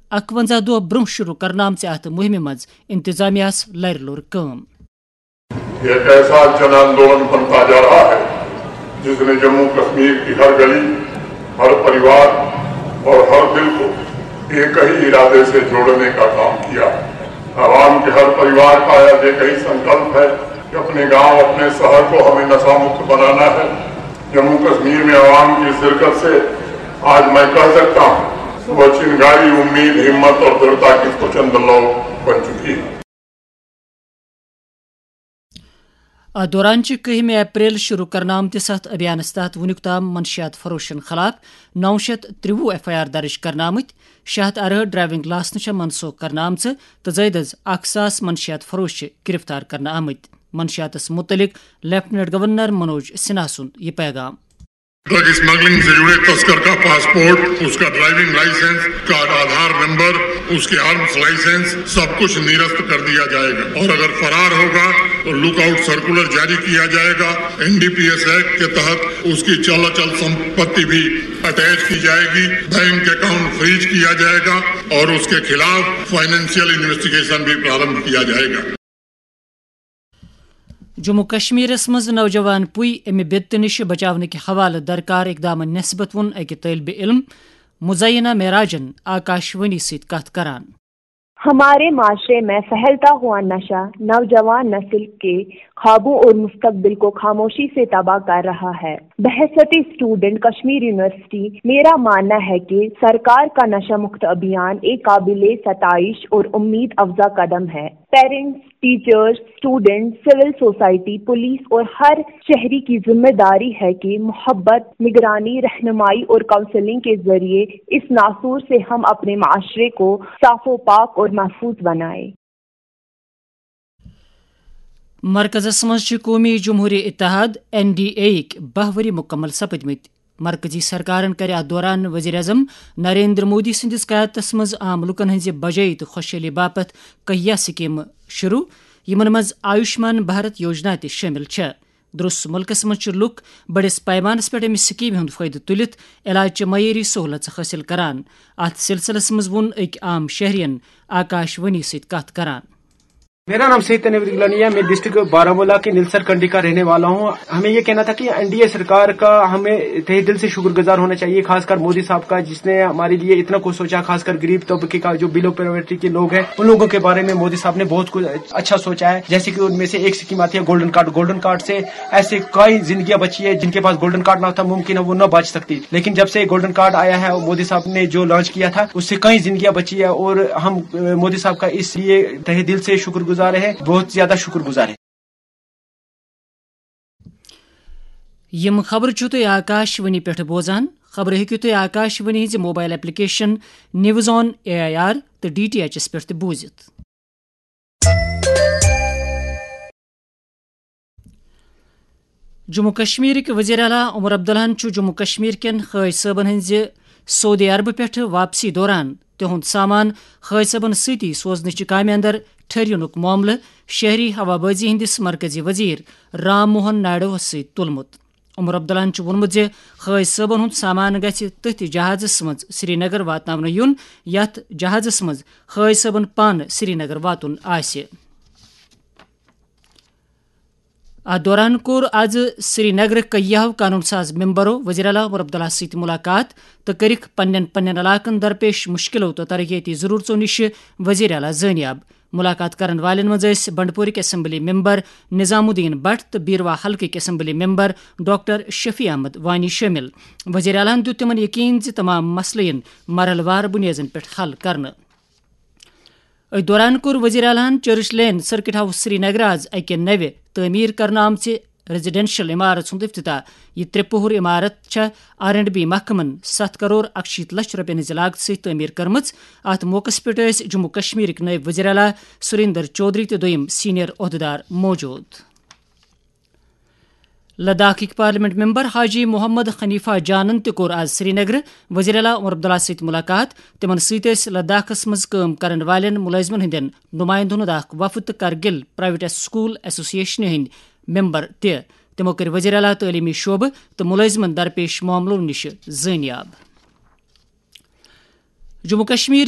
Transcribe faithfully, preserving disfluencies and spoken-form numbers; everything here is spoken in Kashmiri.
اکوَنزاہ دۄہ برونٛہہ شروع کرنہٕ آمژِ اتھ مُہِمہِ منٛز انتظامیہ ہس لرِ لوٚر کٲم۔ یہ ایک ایسا جن آندولن بنتا جا رہا ہے، جس نے جموں کشمیر کی ہر گلی، ہر پریوار اور ہر دل کو ایک ہی ارادے سے جوڑنے کا کام کیا۔ عوام کے ہر پریوار کا آج ایک ہی سنکلپ ہے کہ اپنے گاؤں، اپنے شہر کو ہمیں نشہ مکت بنانا ہے۔ جموں کشمیر میں عوام کی شرکت سے آج میں کہہ سکتا ہوں، وہ چنگاری امید، ہمت اور دڑھتا کی پرچند لو بن چکی ہے۔ اتھ دوران چھِ کٔہمہِ اپریل شروع کرنہٕ آمتِس اتھ ابھیانس تحت وُنیُک تام منشیات فروشن خلاف نو شیتھ ترٛوُہ ایف آئی آر درج کرنہٕ آمٕتۍ، شیٚے ہتھ ارہٲٹھ ڈرائیونگ لائسنہٕ چھےٚ منسوخ کرنہٕ آمژٕ تہٕ زٲیدٕ از اکھ ساس منشیات فروش چھِ گرفتار کرنہٕ آمٕتۍ۔ منشیاتس متعلق لیفٹیننٹ گورنر منوج سنہا سُنٛد یہِ پیغام۔ ڈرگ اسمگلنگ سے جڑے تسکر کا پاسپورٹ، اس کا ڈرائیونگ لائسنس، اس کا آدھار نمبر، اس کے آرمز لائسنس، سب کچھ نرست کر دیا جائے گا اور اگر فرار ہوگا تو لک آؤٹ سرکولر جاری کیا جائے گا۔ N D P S act کے تحت اس کی چل اچل سمپتی بھی اٹیچ کی جائے گی، بینک اکاؤنٹ فریز کیا جائے گا اور اس کے خلاف فائنینشیل انویسٹیگیشن بھی پرارمبھ کیا جائے گا۔ جموں کشمیرس منٛز نوجوان پُے امہِ بدتہٕ نِش بچاونٕکہِ حوالہٕ درکار اقدامن نسبت ووٚن أکۍ طٲلبہِ علم مزینہ معراجن آکاشوانی سۭتۍ کتھ کران۔ ہمارے معاشرے میں پھیلتا ہوا نشہ نوجوان نسل کے خوابوں اور مستقبل کو خاموشی سے تباہ کر رہا ہے۔ بحیثیت اسٹوڈنٹ کشمیر یونیورسٹی، میرا ماننا ہے کہ سرکار کا نشہ مکت ابھیان ایک قابل ستائش اور امید افزا قدم ہے۔ پیرنٹس، ٹیچرز، اسٹوڈنٹس، سول سوسائٹی، پولیس اور ہر شہری کی ذمہ داری ہے کہ محبت، نگرانی، رہنمائی اور کاؤنسلنگ کے ذریعے اس ناسور سے ہم اپنے معاشرے کو صاف و پاک اور محفوظ بنائیں۔ مرکزس منٛز چھِ قومی جمہوری اتحاد، این ڈی اے یِکۍ باہ ؤری مکمل سپدمٕتۍ۔ مرکزی سرکارن کَرِ اَتھ دوران وزیر اعظم نریندر مودی سٕنٛدِس قیادتس منٛز عام لوٗکن ہٕنٛزِ بجٲیی تہٕ خۄشحٲلی باپتھ کہیا سکیمہٕ شروع، یِمن منٛز آیوشمان بھارت یوجنا تہِ شٲمِل چھےٚ۔ درست مُلکس منٛز چھِ لوٗکھ بٔڑِس پیمانس پٮ۪ٹھ اَمہِ سکیمہِ ہُنٛد فٲیدٕ تُلِتھ علاج چہِ معیٲری سہوٗلژٕ حٲصِل کران۔ اَتھ سلسلس منٛز ووٚن أکۍ عام شہرین آکاش وانی سۭتۍ کتھ کران۔ میرا نام سید تنویر گیلانی ہے، میں ڈسٹرکٹ بارامولہ کے نیلسر کنڈی کا رہنے والا ہوں۔ ہمیں یہ کہنا تھا کہ این ڈی اے سرکار کا ہمیں تہہ دل سے شکر گزار ہونا چاہیے، خاص کر مودی صاحب کا، جس نے ہمارے لیے اتنا کچھ سوچا، خاص کر غریب طبقے کا، جو بلو پاورٹی کے لوگ ہیں، ان لوگوں کے بارے میں مودی صاحب نے بہت کچھ اچھا سوچا ہے۔ جیسے کہ ان میں سے ایک اسکیم آتی ہے گولڈن کارڈ، گولڈن کارڈ سے ایسے کئی زندگیاں بچی ہے، جن کے پاس گولڈن کارڈ نہ تھا، ممکن ہے وہ نہ بچ سکتی، لیکن جب سے گولڈن کارڈ آیا ہے، مودی صاحب نے جو لانچ کیا تھا، اس سے کئی زندگیاں بچی ہے اور ہم، اے، مودی صاحب کا اس لیے تہہ دل سے شکر گزار ہیں، بہت زیادہ شکر گزار ہیں۔ یِم خبرٕ چھِو تُہۍ آکاش وانی پٮ۪ٹھ بوزان۔ خبرٕ ہیٚکِو تُہۍ آکاش وانی ہٕنٛزِ mobile application news on A I R تہٕ ڈی ٹی ایچ یَس پٮ۪ٹھ تہِ بوٗزِتھ۔ جموں کشمیرٕکۍ وزیر اعلیٰ عمر عبداللہَن چھُ جموں کشمیر کٮ۪ن حٲج صٲبَن ہٕنٛزِ سعودی عربہٕ پٮ۪ٹھٕ واپسی دوران تِہُنٛد سامان حٲج صٲبَن سۭتی سوزنٕچہِ کامہِ اندر ٹھٔہرِنُک معاملہٕ شہری ہوابازی ہٕنٛدِس مرکزی وزیر رام موہن نائیڈوَس سۭتۍ تُلمُت۔ عمر عبداللہَن چھُ ووٚنمُت زِ حٲج صٲبَن ہُنٛد سامان گژھِ تٔتھۍ جہازَس منٛز سری نگر واتناونہٕ یُن، یَتھ جہازَس منٛز حٲج صٲبَن پانہٕ سری نگر واتُن آسہِ۔ اتھ دوران کوٚر از سری نگرٕ کیاہو قانون ساز ممبرو وزیر اعلیٰ عمر عبداللہ سۭتۍ ملاقات تہٕ کٔرٕکھ پننٮ۪ن پننٮ۪ن علاقن درپیش مشکلو تہٕ ترقیتی ضرورژو نِش وزیر اعلیٰ زٲنیاب۔ ملاقات کرن والٮ۪ن منٛز ٲسۍ بنڈپورٕکۍ اسمبلی ممبر نظام الدین بٹ تہٕ بیروا حلقٕکۍ assembly member doctor Shafi Ahmad Wani شٲمِل۔ وزیر اعلیٰ ہَن دیُت تِمن یقین زِ تمام مسلہٕ یِن مرحلہٕ وار بُنیٲدن پٮ۪ٹھ حل کرنہٕ۔ أتھۍ دوران کوٚر وزیر اعلیٰ ہَن چرچ لین سرکٹ ہاؤس سری نگر از اکہِ نوِ تعمیٖر کرنہٕ آمژِ ریزیڈنشل عمارت ہُنٛد افتتاح۔ یہِ ترٛےٚ پوٚہر عمارت چھےٚ آر اینڈ بی محکمن ستھ کرور اکشیٖتھ لچھ رۄپین ہٕنٛزِ لاگتہٕ سۭتۍ تعمیٖر کٔرمٕژ۔ اتھ موقعس پٮ۪ٹھ ٲسۍ جموں کشمیرٕکۍ نٲیِب وزیر اعلیٰ سریندر چودھری تہٕ دوٚیِم سینئر عہدٕدار موجود۔ لداخٕکۍ پارلیمنٹ ممبر حاجی محمد حنیفہ جانن تہِ کوٚر آز سری نگرٕ وزیر اعلیٰ عمر عبداللہ سۭتۍ ملاقات۔ تِمن سۭتۍ ٲسۍ لداخس منٛز کٲم کرن والٮ۪ن مُلٲزمن ہٕنٛدٮ۪ن نُمایندٕ ہُنٛد اکھ وفد تہٕ کرگل پرائیویٹ سکول ایسوسی ایشنہِ ہٕنٛدۍ ممبر تہِ۔ تِمو کٔرۍ وزیر اعلیٰ تعلیمی شعبہٕ تہٕ مُلٲزمن درپیش معاملو نِش زٲنیاب۔ جموں کشمیر